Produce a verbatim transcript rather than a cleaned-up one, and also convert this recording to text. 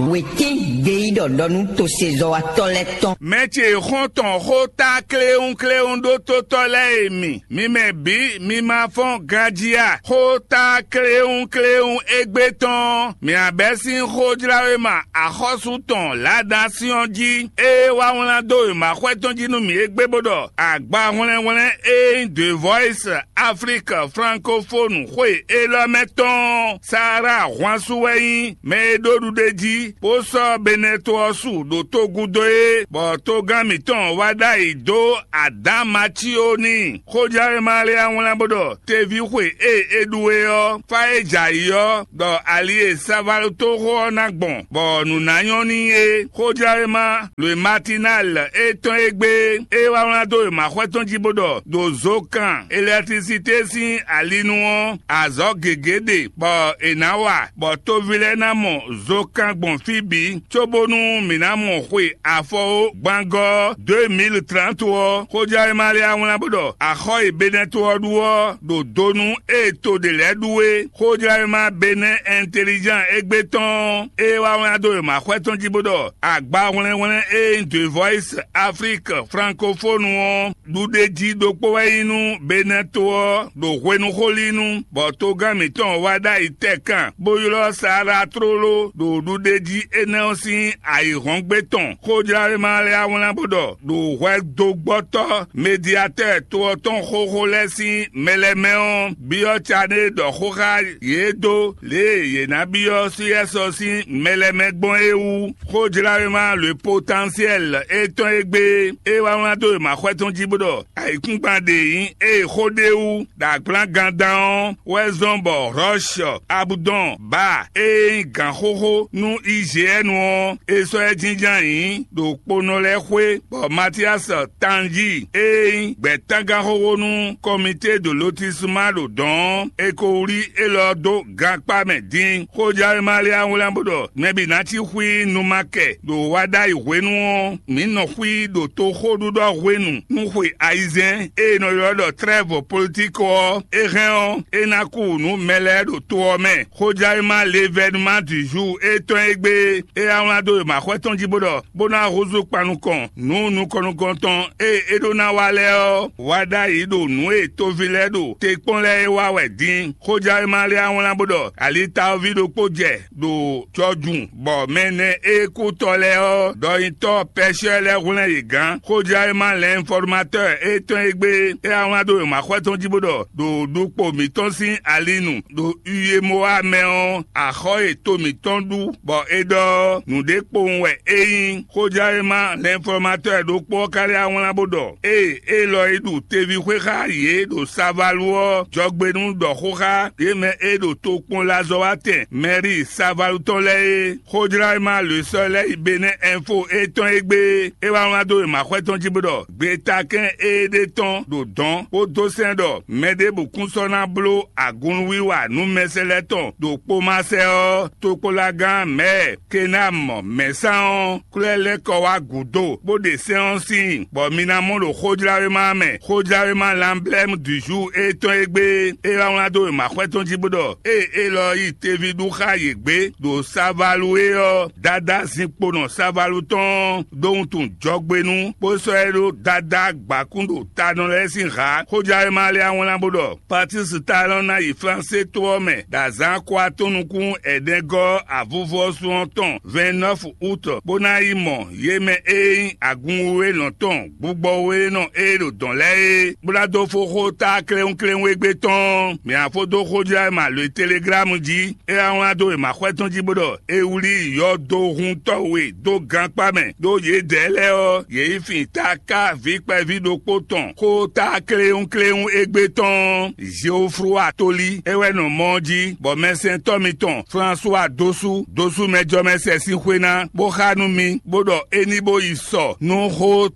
Wětín gbeyíɖɔ ɖɔ nú tosezɔ́watɔ́ lɛ́ɛ tɔn. Mɛ ce xɔ́ntɔn xó ta kléwúnkléwún ɖó tótɔ́ lɛ́ɛ e mi, mi mɛ bǐ mi ma fɔ́n ganjí a? Xó ta kléwúnkléwún égbé tɔn, mǐ abɛ́ sín xójláwéma axɔ́sú tɔn Ladan Siɔ́n jí, ée wá wlán dó wěmaxwɛ tɔn jí nú mǐ égbé bó ɖɔ: Agbahwlɛ́nhwlɛ́n e nyí The Voice Afrique Francophone xwe élɔ́ mɛ tɔn, Sahara ahwansu wɛ nyí mɛ e ɖó ɖuɖé jí, bó sɔ́ Benɛto ɔ́ su ɖo togúdo é, bɔ togán mǐtɔn wá ɖ'ayǐ dó Adǎn Matío n'i. Xójɛwéma lɛ́ɛ wá wlán bó ɖɔ: Teví xwe e é ɖu é ɔ́, fá e jɛ ayǐ ɔ́, ɖɔ ali e savalótoxo ɔ́ ná gbɔn, bɔ nǔ ná nyɔ́ n'i é. Xójɛwéma Lwe Matinal étɔn e gbé é wá wlán dó wěmaxwɛ tɔn jí bó ɖɔ: Ɖo zokan elɛkitrisité sín ali nu ɔ́, azɔ̌ gěgé ɖe bɔ è nǎ wa, bɔ toví lɛ́ɛ ná mɔ zokan gbɔn fí bǐ, cóbónú mǐ ná mɔ xwe afɔwó gbangɔ́ deux mille trente ɔ́. Xójɛwéma lɛ́ɛ wá wlán bó ɖɔ: Axɔ́ e Benɛto ɔ́ ɖu ɔ́ ɖo do nú ée to ɖě lɛ́ɛ ɖu é. Xójlawéma Benɛ́ Ɛntelizán égbé tɔn ɔ́, é wá wlán dó wěmaxwɛ tɔn jí bó ɖɔ: Agbahwlɛ́nhwlɛ́n e nyí The Voice Afrique Francophone ɔ́, ɖuɖéjí ɖokpó wɛ nyí nú Benɛ́ to ɔ́ ɖo hwenuxolínu, bɔ togán mǐtɔn wá ɖ'ayǐ tɛkan, bó ylɔ́ Saala tlóló ɖo ɖuɖéjí énɛ́ ɔ́ sín ayǐhɔ́ngbe tɔn. Xójlawéma lɛ́ɛ wá wlán bó ɖɔ: Ɖo hwɛdogbɔ́tɔ́ Mediatɛ́ɛ to ɔ́ tɔn xóxó lɛ́ɛ sín mɛ lɛ́ɛ mɛ ɔ́, byɔ́ Caɖée ɖɔ xó xá yě dó lě e yě ná byɔ́ Suyɛ́sɔ sín mɛ lɛ́ɛ mɛ gbɔn é wú. Xójláwéma Le Potentiel étɔn e gbé é wá wlán dó wěmaxwɛ tɔn jí bó ɖɔ: Ayǐkúngban ɖě nyí ée xó ɖ'é wú ɖo agblǎngandán ɔ́ wɛ zɔ́n bɔ Hlɔ̌shɔ Abudɔn Ba e nyí gǎnxóxó nú I G N ɔ́, è sɔ́ ɛ jínjɔ́n ayǐ ɖo kponɔ lɛ́ɛ xwé, bɔ Matíasɔ Tanjí e nyí gbɛ̌tangáxóxó nú Kɔmité de Lotisma ɖo dɔ̌n ɔ́, è ko wlí élɔ́ dó gankpá mɛ din. Xójɛwéma lɛ́ɛ wá wlán bó ɖɔ: Mɛ bǐ ná cí xwí numakɛ ɖo wá ɖ'ayǐ hwenu ɔ́, mǐ nɔ xwí ɖo toxóɖuɖɔ hwenu nú xwe ayizɛ́n e è nɔ ylɔ́ ɖɔ trɛ́vɔ politikɔ ɔ́, é hɛn ɔ́, é ná kú nú mɛ lɛ́ɛ ɖo to ɔ́ mɛ. Xójɛwéma Levɛnuma du jour étɔn e gbé é wá wlán dó wěmaxwɛ tɔn jí bó ɖɔ: Bó ná húzú kpan nukɔn nǔ nukɔn nukɔn tɔn e é ɖó ná wa lɛ́ɛ ɔ́, wá ɖ'ayǐ ɖo nǔ e toví lɛ́ɛ ɖo te kpɔ́n lɛ́ɛ é wa wɛ din. Xójɛwéma lɛ́ɛ wá wlán bó ɖɔ: Alitaɔví ɖokpó jɛ ɖo jɔjun, bɔ mɛ nɛ e kú tɔ lɛ́ɛ ɔ́, ɖɔnyitɔ́ Pɛshɛ́ lɛ́ɛ hwlɛ́n yě gán. Xójɛwéma Lɛnfɔrmatɔ́ɔ étɔn e gbé é wá wlán dó wěmaxwɛ tɔn jí bó ɖɔ: Ɖo ɖukpo mǐtɔn sín ali nu, ɖo Uyémoa mɛ ɔ́, axɔ́ e to mǐtɔn ɖu, bɔ é ɖɔ ɔ́, nǔɖé kpowun wɛ é nyí. Xójɛwéma Lɛnfɔrmatɔ́ɔ ɖokpó ɔ́ ka lɛ́ wá wlán bó ɖɔ: Ée élɔ́ e ɖu teví xwé xá yě ɖo Savalu ɔ́, jɔgbe nú ɖɔ xó xá yě mɛ e ɖo tokpɔnlazɔ́watɛn Mɛríi Savalu tɔn lɛ́ɛ é. Xójláwéma Lwesɔ́ lɛ́ɛ yi Benɛ́ Ɛnfo étɔn e gbé é wá wlán dó wěmaxwɛ tɔn jí bó ɖɔ: Gbetakɛ́n e ɖe tɔn ɖo dɔ̌n bó dó sɛ́n ɖɔ mɛ ɖěbǔ kún sɔ́ ná bló agunwiwa nú mɛsɛlɛ́ tɔn ɖo kpomasɛ ɔ́, tokpɔ́nlágán Mɛ̌ɛ Kenamɔ mɛ̌ sán ɔ́, kwlɛ́ lɛ́ kɔ wá gǔdo, bó ɖe sɛ́n ɔ́ síin, bɔ mi ná mɔ ɖo xójláwéma ɔ́ mɛ. Xójláwéma Lanblɛ́mu du jour étɔn e gbé é wá wlán dó wěmaxwɛ tɔn jí bó ɖɔ: Ée élɔ́ yi teví ɖu xá yě gbé ɖo Savalu é ɔ́, Dadá zinkponɔ Savalu tɔn ɔ́ ɖó wuntun jɔgbe nú, bó sɔ́ ɛ ɖó Dadá gbǎkún ɖo tanɔ lɛ́ɛ sín hǎ. Xójláwéma lɛ́ɛ wá wlán bó ɖɔ: Patísi Talɔn ná yi Flansé to ɔ́ mɛ ɖo azǎn ko atɔn nukún ɛnɛgɔ́ avuvɔ́sú ɔ́ tɔn vɛ̌nnɔ́fu utɔ, bó ná yi mɔ yě mɛ e nyí agun wěwé nɔ tɔn gbugbɔ wěwé nɔ e ɖo dɔ̌n lɛ́ɛ é, bó ná dó fó xó ta kléwúnkléwún égbé tɔn. Mǐ ná fó dó xójlá e ma lo e teleglámu jí, é wá wlán dó wěmaxwɛ tɔn jí bó ɖɔ: È wlí yɔdohuntɔ́ we dó gankpá mɛ, ɖó yědɛɛ lɛ́ɛ ɔ́, yě yi fin taká vǐ kpɛví ɖokpó tɔn xó ta kléwúnkléwún égbé tɔn ɔ́, Zeoflúwa tolí é wɛ nɔ mɔ ɔ́ jí, bɔ mɛsɛntɔ́ mitɔn Flasuwa dó sú dó sú mɛjɔmɛsɛ sín xwé ná, bó xá nú mi, bó ɖɔ é ní bó yi sɔ nú xó